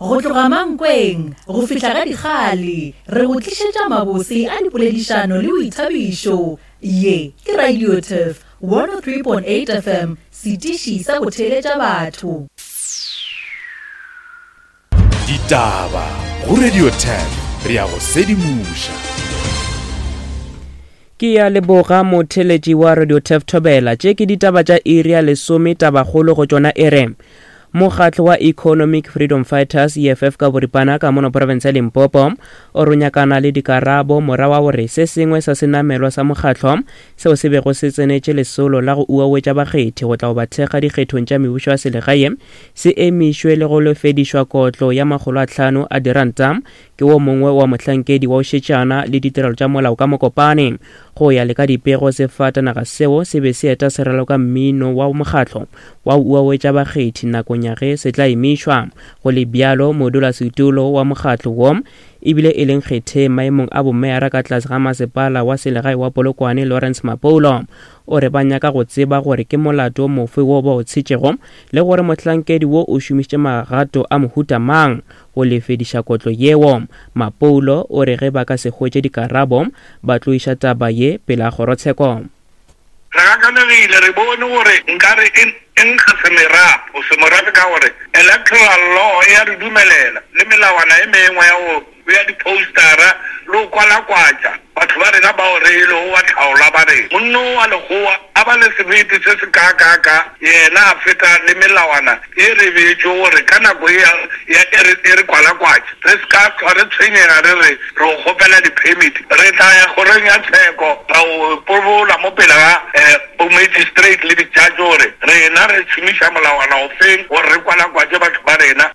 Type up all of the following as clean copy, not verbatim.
Go tloga Mankweng go fihla ga Dikgale, re go tlišetša mabose a dipoledišano le boithabišo. Ye ke Radio Turf 103.8 FM, setiši sa go theeletša batho. Ditaba go Radio Turf, re a go sedimoša. Ke ya leboga motheletši wa Radio Turf Thobela. Tše ke ditaba tša iri ya lesome tabakgolo go tšona e re Mokgatlo wa Economic Freedom Fighters, EFF ka boripana, ka mono profense ya Limpopo o re o nyakana le dikarabo morago ga gore se sengwe sa senamelwa sa mokgatlo seo se bego se tsenetše lesolo la go uawetša bakgethi go tla go ba thekga dikgethong tša mebušo ya selegae se emišwe le go lefedišwa kotlo ya makgolo a tlhano a diranta ke wo mongwe wa mohlankedi wa go šetšana le ditirelo tša molao ka Mokopane. Go ya le ka dipego, sefatanaga seo se be se eta se raloka mmino wa mokgatlo wa go uawetša bakgethi nakong ya ge se tla emišwa. Go le bjalo, modulasetulo wa mokgatlo wo ebile e leng kgetheng maemong a bomeyara ka tlase ga masepala wa selegae wa Polokwane Lawrence Mapoulo o re ba nyaka go tseba gore ke molato mofe wo ba o tshetšego le gore mohlankedi wo o šomišitše magato a mohuta mang go lefediša kotlo yeo. Mapoulo o re ge ba ka se hwetše dikarabo, ba tlo iša taba ye pele ga kgorotsheko. Re gakanegile, re bone gore nkare e e nkga semerapo, semorafe ka gore electoral law e a re dumelela le melawana e mengwe ya go bea di-postera le go kwalakwatša batho ba rena bao re e lego batlhaolwa ba rena. Monna o wa lekgowa a ba le sebete se se kaakaaka, yena a feta le melawana e re beetšwe gore ka nako ye ya e re, e re kwalakwatše, re se ka hlwa re tshwenyega re re re go kgopela di-permit. Re tla ya kgorong ya tsheko ra go pobola mo pele ga bo-magistrate le di-judge gore rena re šomiša molawana ofeng gore re kwalakwatše batho ba rena.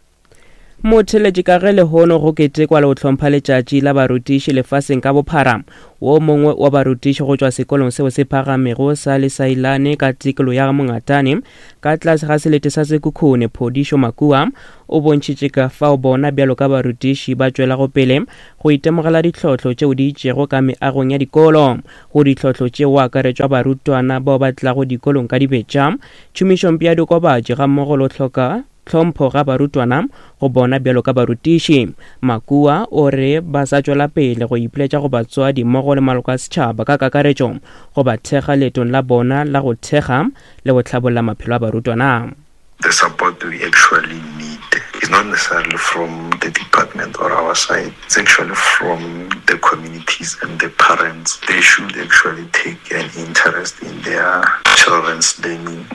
Motheeletši ka ge lehono go ketekwa le go hlompha letšatši la barutiši lefaseng ka bophara, wo mongwe wa barutiši go tšwa sekolong seo se phagamego sa Lesailane ka tikolo ya Mongatane ka tlase ga selete sa Sekhukhune, Phodišo Makua, o bontšhitše ka fao bona bjalo ka barutiši ba tšwelago pele go itemogela ditlhohlo tšeo di itšego ka meagong ya dikolo. Go ditlhohlo tšeo go akaretšwa barutwana bao ba tlago dikolong ka dibetša, tšhomišompe ya diokobatši gammogo le go hloka tlhompho ga barutwana go bona bjalo ka barutiši. Makua o re ba sa tšwela pele go ipiletša go batswadi mmogo le maloko a setšhaba ka kakaretšo go ba thekga leetong la bona la go thekga le go hlabolla maphelo a barutwana. The support we actually need is not necessarily from the department or our side, it's actually from the communities and the parents. They should actually take an interest in their children's learning.